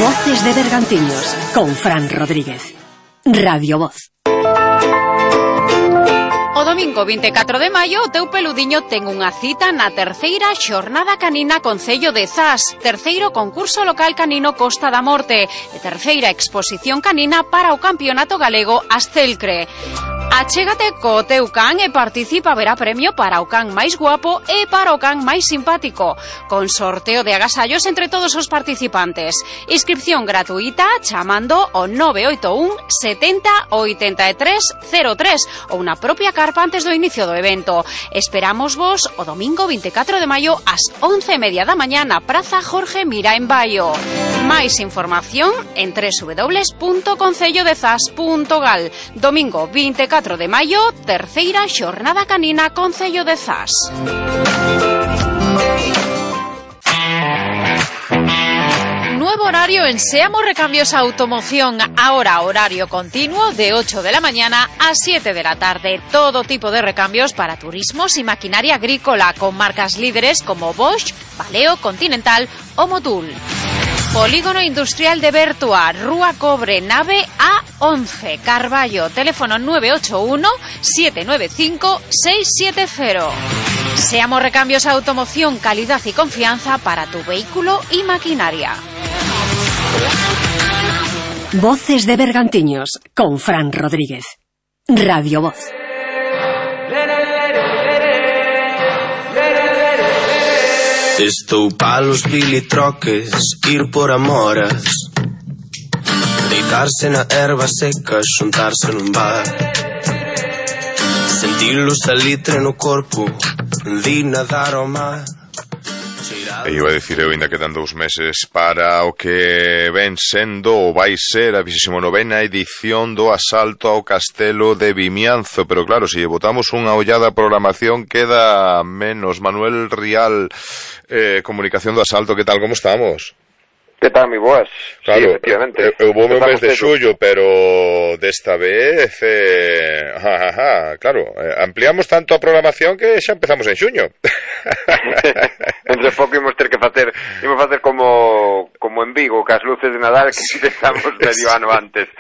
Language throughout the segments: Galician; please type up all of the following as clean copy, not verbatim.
Voces de Bergantiños, con Fran Rodríguez. Radio Voz. O domingo 24 de maio, o teu peludiño ten unha cita na terceira xornada canina Concello de Zas, terceiro concurso local canino Costa da Morte e terceira exposición canina para o Campeonato Galego Astelcre. Achégate co teu can e participa, verá premio para o can máis guapo e para o can máis simpático, con sorteo de agasallos entre todos os participantes. Inscripción gratuita chamando o 981 70 83 03 ou na propia carpa antes do inicio do evento. Esperamos vos o domingo 24 de maio ás 11:30 da mañá na Praza Jorge Mira en Baio. Máis información en www.concellodezas.gal. Domingo 24 de maio, terceira xornada canina Concello de Zas. Nuevo horario en Seamo Recambios Automoción. Ahora horario continuo de 8 de la mañana a 7 de la tarde. Todo tipo de recambios para turismos y maquinaria agrícola con marcas líderes como Bosch, Valeo, Continental o Motul. Polígono Industrial de Bertua, Rúa Cobre, nave A11, Carballo, teléfono 981 795 670. Seamo Recambios Automoción, calidad y confianza para tu vehículo y maquinaria. Voces de Bergantiños, con Fran Rodríguez. Radio Voz. Estou palos bilitroques, ir por amoras, deitarse na erva seca, xuntarse nun bar, sentir o salitre no corpo, de nadar ao mar. E iba a dicir eu, ainda quedan 2 meses para o que ven sendo ou vai ser a 29ª edición do asalto ao Castelo de Vimianzo, pero claro, se botamos unha ollada a programación queda menos. Manuel Rial, comunicación do asalto, que tal, como estamos? Que tal, mi boas? Claro, sí, efectivamente. Eu vou mes de xullo, pero desta vez, claro, ampliamos tanto a programación que xa empezamos en xuño. Entre pouco imos ter que facer como en Vigo, que as luces de Nadal que empezamos medio ano antes.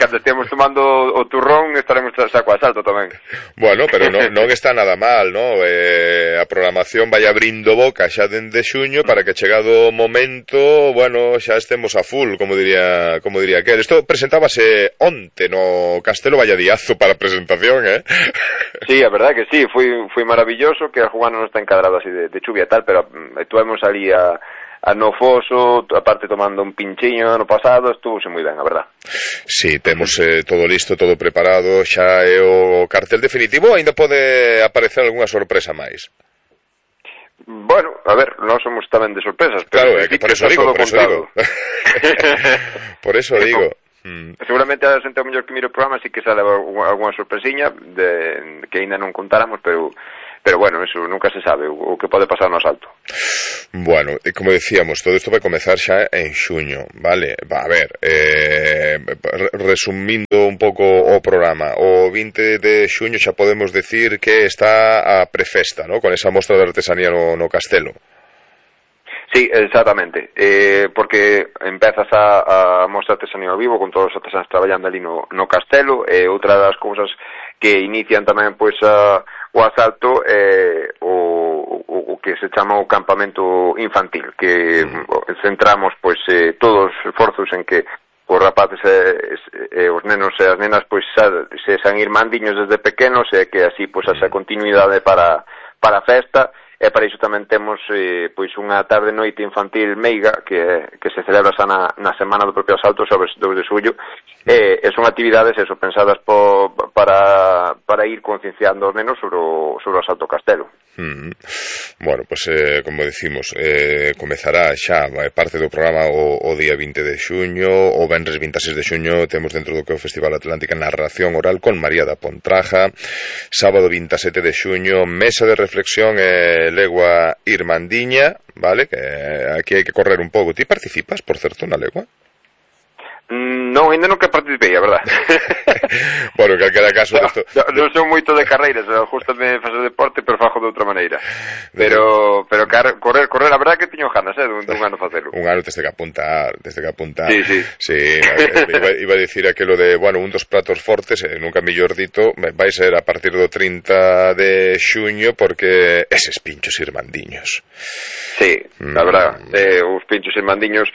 Cando estemos tomando o turrón estaremos xa co asalto tamén. Bueno, pero non está nada mal, ¿no? A programación vai abrindo boca xa dende xuño para que chegado o momento, bueno, xa estemos a full, como diría aquel. Isto presentábase onte no Castelo, vaya diazo para a presentación, eh? Sí, a verdade que sí, foi maravilloso, que a jugada non está encadrado así de chuvia e tal, pero estuvemos ali a no foso, aparte tomando un pinchiño ano pasado, estuvose moi ben, a verdad. Sí, temos todo listo, todo preparado, xa é o cartel definitivo, ainda pode aparecer algunha sorpresa máis? Bueno, a ver, non somos tamén de sorpresas, pero claro, por eso digo. Por eso digo. Seguramente a xente ao mellor que mire o programa sí que sale algunha sorpresiña que ainda non contáramos, pero bueno, eso nunca se sabe o que pode pasar no asalto. Bueno, como decíamos, todo isto vai comezar xa en xuño, vale? A ver, resumindo un pouco o programa, o 20 de xuño xa podemos decir que está a prefesta, ¿no? Con esa mostra de artesanía no Castelo. Sí, exactamente, porque empezas a mostra artesanía ao vivo con todos os artesanos traballando ali no Castelo, e outra das cousas que inician tamén pois o asalto o que se chama o campamento infantil, que centramos pois todos os esforzos en que os rapaces e os nenos e as nenas pois se san ir mandiños desde pequenos, e que así pois esa continuidade para a festa. E para iso tamén temos pois unha tarde noite infantil meiga que se celebra xa na semana do propio asalto, sobre 2 de xullo, e son actividades eso, pensadas para ir concienciando os nenos sobre o asalto ao Castelo. Bueno, pues como decimos, comezará xa parte do programa o día 20 de xuño, o venres 26 de xuño temos dentro do que é o Festival Atlántica narración oral con María da Pontraja, sábado 27 de xuño mesa de reflexión legua irmandiña, vale, que aquí hai que correr un pouco. Ti participas, por certo, na legua? Non, ainda nunca participei, a verdad. Bueno, en calquera caso... Non son moito de carreiras, justamente facer deporte, pero fajo de outra maneira. Pero correr, a verdad que tiño ganas, dun ano facelo. Un ano teste que apuntar. Sí. Sí, iba a dicir aquilo de, bueno, un dos pratos fortes, nunca mellor dito, vai ser a partir do 30 de xuño, porque eses pinchos irmandiños. Sí, a verdad, os pinchos irmandiños,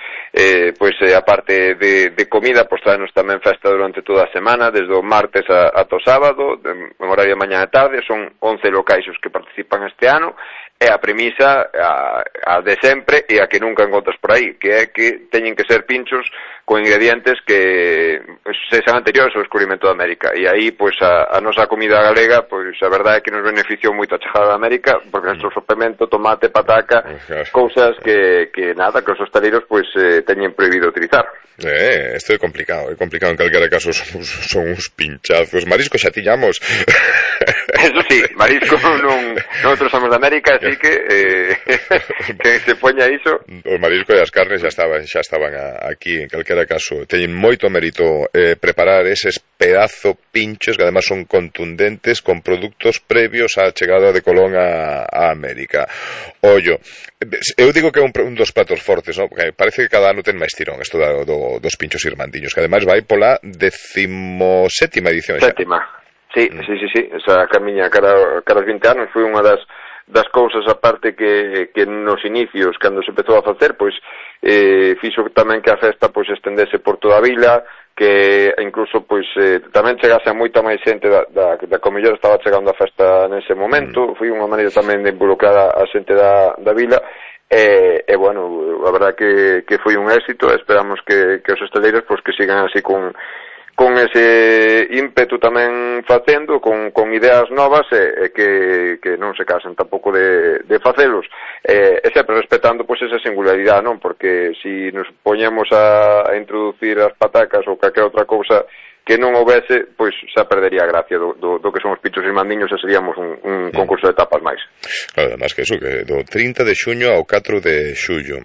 pois aparte de comida, pois traenos tamén festa durante toda a semana, desde o martes ata o sábado, en horario de mañá e tarde. Son 11 locais os que participan este ano, e a premisa a de sempre e a que nunca encontras por aí, que é que teñen que ser pinchos con ingredientes que sexan anteriores ao descubrimento de América, e aí pois a nosa comida galega, pois a verdade é que nos beneficiou moito a chegada de América, porque nuestro sopemento, tomate, pataca, cousas que nada, que os hostaleiros pois teñen prohibido utilizar. Isto é complicado en calquera caso, son uns pinchazos. Marisco xa tiñamos. Eso sí, marisco nosotros somos de América, así que se poña iso. O marisco e as carnes xa estaban aquí, en calquera caso. Teñen moito mérito preparar eses pedazo pinchos que además son contundentes, con produtos previos á chegada de Colón a América. Ollo, eu digo que é un dos pratos fortes, ¿no? Porque parece que cada ano ten máis tirón isto dos pinchos irmandiños, que ademais vai pola 17ª edición xa. Sétima. Sí. Esa camiña cara 20 anos foi unha das cousas, aparte que nos inicios, cando se empezou a facer, pois fixo tamén que a festa pois estendese por toda a vila, que incluso pois tamén chegase a moita máis xente da que o mellor estaba chegando a festa nese momento. Foi unha maneira tamén de involucrar a xente da vila, e bueno, a verdad que foi un éxito. Esperamos que os hostaleiros pois que sigan así con ese ímpetu tamén facendo, con ideas novas, e que non se casen tampouco de facelos, e sempre respetando pois esa singularidade, non? Porque si nos poñemos a introducir as patacas ou calquera outra cousa que non houvese, pois xa perdería a gracia do que son os pinchos irmandiños, e seríamos un concurso de tapas máis. Claro, además que eso, que do 30 de xuño ao 4 de xullo,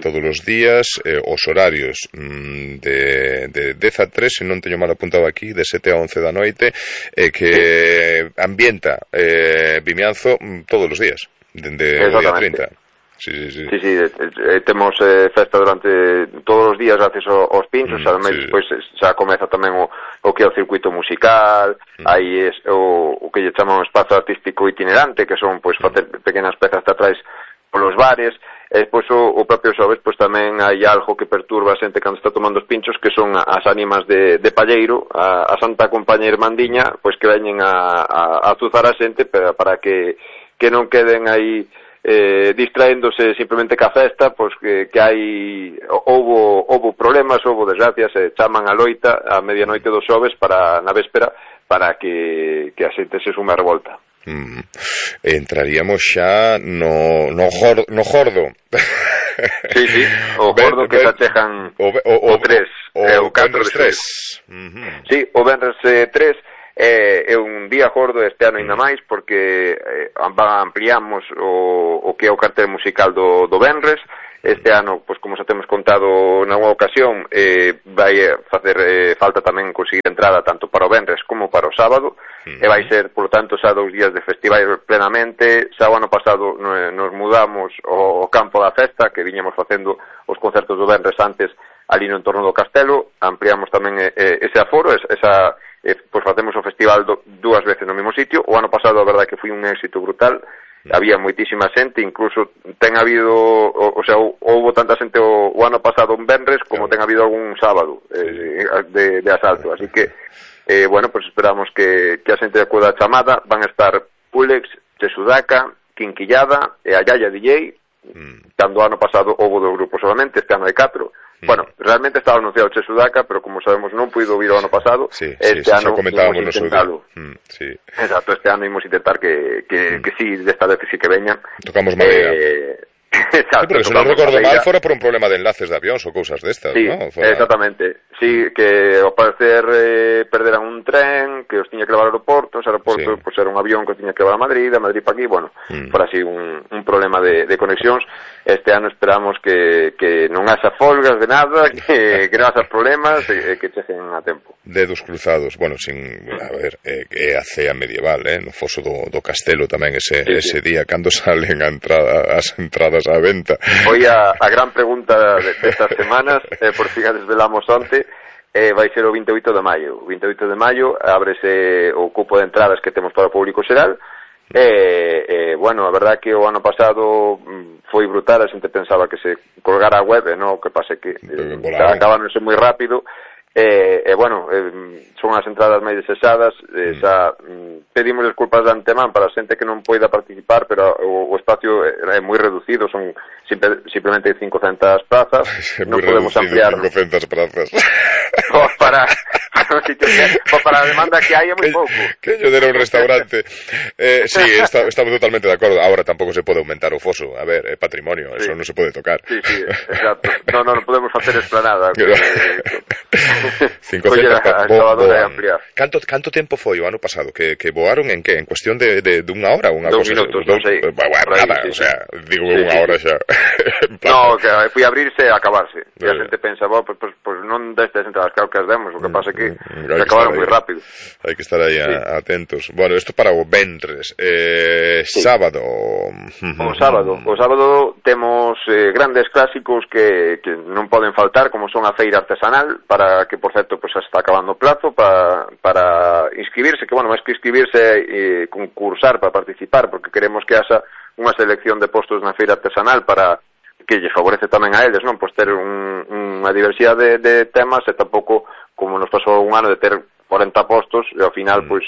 todos os días, os horarios de 10 a 3, se non teño mal apuntado aquí, de 7 a 11 da noite, que ambienta Vimianzo todos os días, dende o día 30. Sí. Temos festa durante todos os días gracias aos pinchos, ademais despois xa comeza tamén o que é o circuito musical, aí o que lle chaman espazo artístico itinerante, que son pois facer pequenas pezas teatrais polos bares, e despois o propio xoves pois tamén hai algo que perturba a xente cando está tomando os pinchos, que son as ánimas de palleiro, a Santa Compañía Irmandiña, pois que veñen a azuzar a xente para que non queden aí distraéndose simplemente ca festa, pois que hai houbo problemas, houbo desgracias, e chaman a loita a medianoite do xoves na véspera, para que a xente se sume a revolta. Entraríamos xa no gordo. Sí, o gordo que se achegan o 3 o 4 de 3. Sí, o venres 3 é un día gordo este ano ainda máis, porque ampliamos o que é o cartel musical do venres. Este ano, pois como xa temos contado nalgúna ocasión, vai facer falta tamén conseguir entrada tanto para o venres como para o sábado, e vai ser, por lo tanto, xa 2 días de festival plenamente. Xa o ano pasado nos mudamos ao campo da festa, que viñamos facendo os concertos do venres antes ali no entorno do castelo. Ampliamos tamén ese aforo, pois facemos o festival 2 veces no mesmo sitio. O ano pasado a verdade que foi un éxito brutal, había moitísima xente, incluso ten habido, o sea, houbo tanta xente o ano pasado un venres como ten habido algún sábado de asalto, así que bueno, pues esperamos que a xente acuda a chamada. Van a estar Pulex, Chesudaka, Quinquillada e a Yaya DJ, cando o ano pasado houbo 2 grupos solamente, este ano hai 4. Bueno, realmente estaba anunciado Chesudaka, pero como sabemos non puido vir o ano pasado. Este ano imos intentalo. Exacto, este ano imos intentar que sí, desta vez sí que veñan. Tocamos madera. Exacto, porque se non recordo mal, fora por un problema de enlaces de avións ou cousas destas, sí, ¿no? Exactamente. Sí, que ao parecer perderan un tren que os tiña que levar ao aeroporto, pues era un avión que os tiña que levar a Madrid para aquí, bueno, fora así un problema de conexións. este ano esperamos que non haxa folgas de nada, que non haxa problemas e que cheguen a tempo. Dedos cruzados, bueno, a ver, é a cea medieval, no foso do castelo tamén ese día, cando salen as entradas á venta. Foi a gran pregunta destas semanas, por fin a desvelamos onte, vai ser o 28 de maio. O 28 de maio ábrese o cupo de entradas que temos para o público xeral. Bueno, a verdad que o ano pasado foi brutal, a xente pensaba que se colgara a web, o que pase que acabáronse moi rápido. Bueno, son as entradas máis desexadas, xa pedimos desculpas de antemán para a xente que non poida participar, pero o espacio é moi reducido, son simplemente 500 plazas, non podemos ampliar 500 plazas para a demanda que hai é moi pouco. Que yo dera un restaurante. Sí, estamos totalmente de acordo. Ahora tampouco se pode aumentar o foso, a ver, é patrimonio, eso non se pode tocar. Sí, exacto. Non podemos facer esplanada. 500 Canto tempo foi o ano pasado que voaron en que? En cuestión de unha hora, unha 2 cosa, minutos, non sei. Nada, o sea, digo unha hora xa. No, que foi abrirse e acabarse. E a xente pensa, pues non destes entradas, claro que as demos, o que pasa é que se acabaron moi rápido. Hai que estar aí atentos. Bueno, isto para o ventres. Sábado. O sábado temos grandes clásicos que non poden faltar, como son a feira artesanal, para que, por certo, pues está acabando o plazo para inscribirse, que, bueno, máis que inscribirse e concursar para participar, porque queremos que haxa unha selección de postos na feira artesanal para que lle favorece tamén a eles, non? Pois ter unha diversidade de temas e tampouco, como nos pasou un ano, de ter 40 postos e ao final, pois,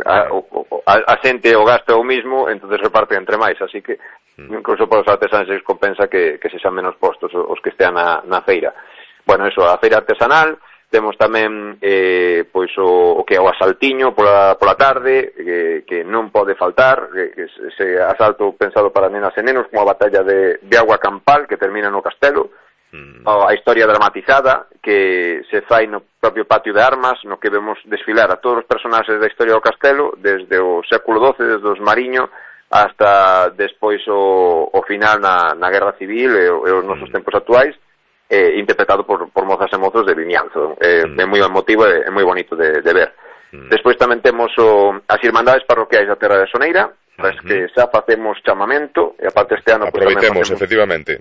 a xente o gasta o mismo, entonces reparte entre máis, así que incluso para os artesanos se compensa que se xan menos postos os que estean na feira. Bueno, eso, a feira artesanal, temos tamén pois o que é o asaltiño pola tarde, que non pode faltar, que ese asalto pensado para nenas e nenos, como a batalla de agua campal, que termina no castelo, a historia dramatizada que se fai no propio patio de armas, no que vemos desfilar a todos os personaxes da historia do castelo, desde o século XII, desde os Mariño, hasta despois o final na Guerra Civil e os nosos tempos actuais, interpretado por mozas e mozos de Vimianzo. É moi emotivo e moi bonito de ver. Despois tamén temos as Irmandades Parroquiais da Terra de Soneira, que xa facemos chamamento, e aparte este ano aproveitemos, efectivamente.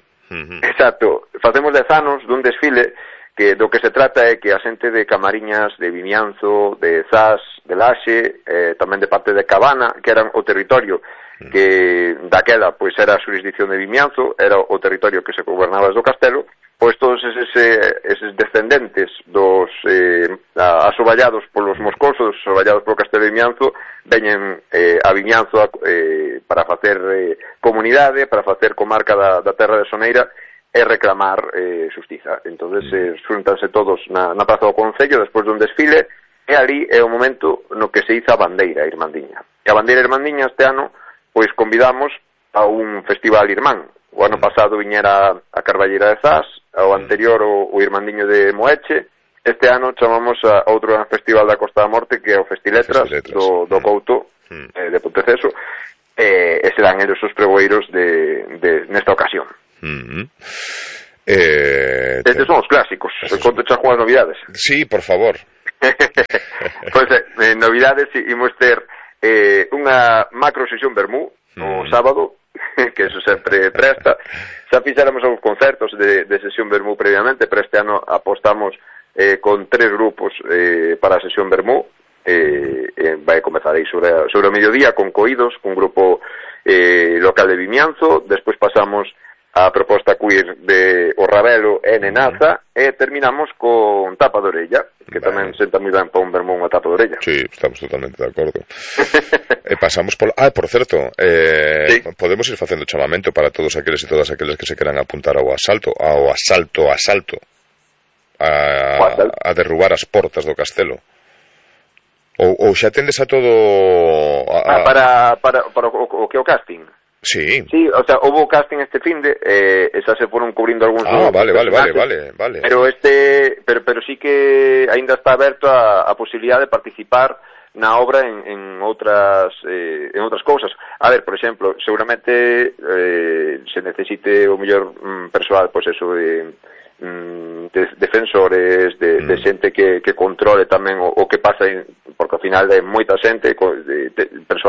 Exacto, facemos 10 anos dun desfile que do que se trata é que a xente de Camariñas, de Vimianzo, de Zas, de Laxe, tamén de parte de Cabana, que eran o territorio que daquela pois era a xurisdicción de Vimianzo, era o territorio que se gobernaba desde o castelo, pois todos eses descendentes dos asoballados polos moscosos, asoballados polo castelo de Vimianzo, veñen a Vimianzo para facer comunidade, para facer comarca da terra de Soneira e reclamar xustiza. Entonces xuntanse todos na praza do Concello despois dun desfile, e ali é o momento no que se iza a bandeira irmandiña. E a bandeira irmandiña este ano pois convidamos a un festival irmán. O ano pasado viñera a Carballera de Zas, ao anterior o Irmandiño de Moeche. Este ano chamamos a outro gran festival da Costa da Morte, que é o Festiletras do Couto, de Ponteceso, e serán eles os pregoeiros nesta ocasión. Estes son os clásicos. Conto xa con as novidades. Sí, por favor. Pois novidades, imos ter unha macro sesión vermú o sábado, que eso sempre presta. Xa fixéramos algúns concertos de sesión vermú previamente, pero este ano apostamos con 3 grupos para a sesión vermú. Vai comezar aí sobre o mediodía con Coídos, un grupo local de Vimianzo. Despois pasamos a proposta queer de O Rabelo e Nenaza, e terminamos con Tapa de Orella, que tamén senta moi ben para un vermú unha tapa de orella. Sí, estamos totalmente de acordo. Pasamos por certo, sí. Podemos ir facendo chamamento para todos aqueles e todas aqueles que se queran apuntar ao asalto a derrubar as portas do castelo. Ou xa tendes a todo para o que é o casting. Sí. Sí, o sea, houve casting este finde, xa se foron cubrindo algúns vale. Pero pero sí que aínda está aberto a posibilidade de participar na obra en outras cousas. A ver, por exemplo, seguramente se necesite o mellor persoal, pois eso de defensores, de xente que controle tamén o que pasa, porque ao final é moita xente, persoal